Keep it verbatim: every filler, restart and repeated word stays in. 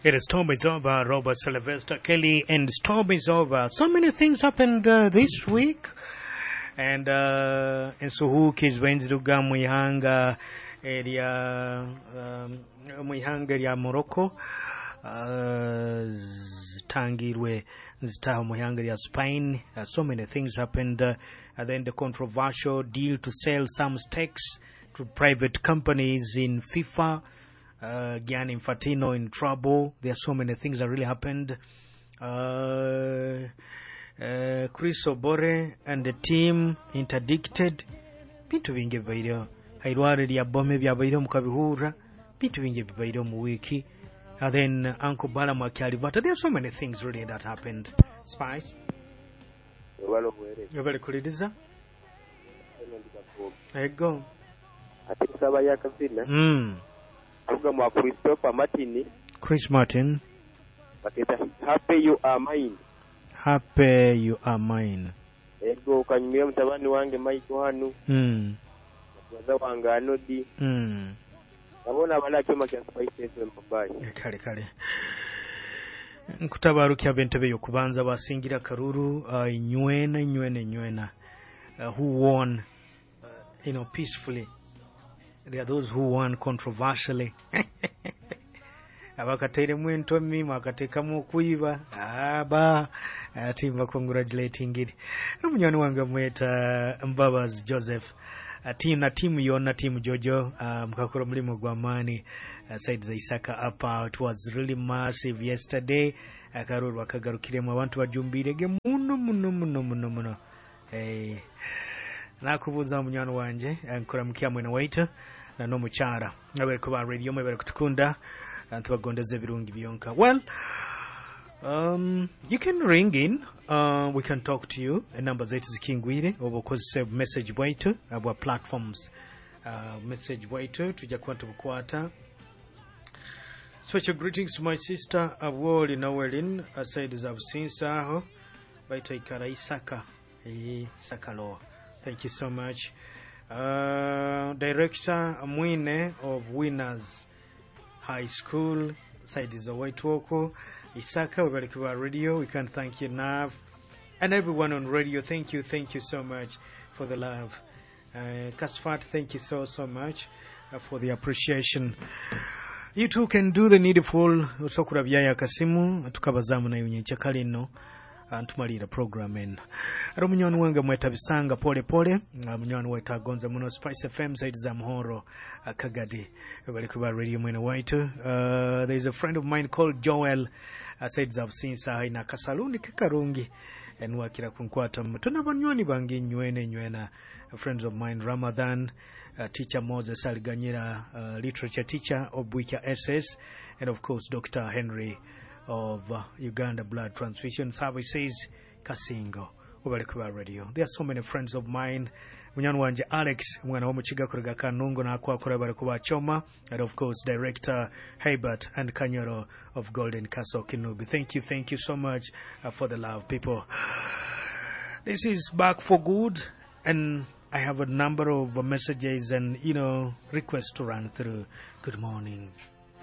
It is Storm is over, Robert Sylvester Kelly, and Storm is over. So many things happened uh, this week. And uh, ensuhuuki zibainziruga mu ihanga erya um, mu ihanga erya Morocco uh, zitangirwe zitaha mu ihanga lya Spain. Uh, so many things happened. Uh, and then the controversial deal to sell some stakes to private companies in FIFA. Uh, Gianni Infantino in trouble. There are so many things that really happened. Uh, uh, Chris Obore and the team interdicted. Bintu bingi bibaireho. Hairware lya bome byabaireho mukabihurra. Bintu bingi bibaireho mu wiki. And then Uncle Balaam Akyalibata. There are so many things really that happened. Spice. Webale obuweereza. Webale kuliriza. Eno ndi Kafuubi. Ego. Ate nsaba ya kazina Mm. avuga mwa Christopher Martin Chris Martin. baketa happy you are mine. Happy you are mine. Ego kanyumira mutabani wange Michael hanu Mm. mubaza wange Anodi Mm. nabona abala kyoma kya Spice FM babayi. Kale kale nkutabarukya ab'entebe y'okubanza basingira karuru uh, nywena nywena nywena uh, who won uh, you know peacefully there are those who won controversially abakateiremu entomi mwakateekamu okwiba aba ati mbacongratulatingire n'omunywani wange mweta Mbabazi Joseph uh, team na timu yonna timu Jojo uh, mukakora omulimu gw'amaani uh, side za Isaka apa it was really massive yesterday akaruru akagarukiremu abantu bajumbirege muno muno muno muno muno eh nakubuuza munywani wanje eh, nkuramukia mwena waitu na n'omukyara abere kuba radio mwebere kutukunda ntubagondeza ebirungi byonka well Um, you can ring in uh, we can talk to you enamba zaitu zikingwire oba okozesa message bwaitu uh, bwa platforms uh, message bwaitu tujja kuba tubukwata special greetings to my sister Abwoli Noelin aside za Businsa aho baitu aikara Isaka eh Isaka Law thank you so much uh, director Mwine of Winners High School side za Waitwoko Isaka webale radio we can't thank you enough and everyone on radio thank you thank you so much for the love uh, Kasfat thank you so so much uh, for the appreciation you too can do the needful osokura byaya kasimu tukabazamu nayo nyekyakale nno uh, ntumalira program eno ari omunywani wange mweta bisanga pole pole uh, munywani waitu agonza muno Spice FM side za Muhoro uh, Kagadi bali kuba radio mwene waitu uh, there is a friend of mine called Joel uh, side za Businsa ina kasaluni kekarungi enwakira kunkwata tuna banywani bange nywene nywena friends of mine Ramadan uh, teacher Moses Aliganyira uh, literature teacher of Bwika SS and of course Dr. Henry of uh, Uganda Blood Transfusion Services Kasingo webale kuba radio there are so many friends of mine munywani wanje Alex omwana w'omukiga kuruga Kanungu nakwakora bari kuba Choma and of course director Herbert and Kanyoro of Golden Castle Kinubi thank you thank you so much uh, for the love people this is back for good and I have a number of messages and you know requests to run through good morning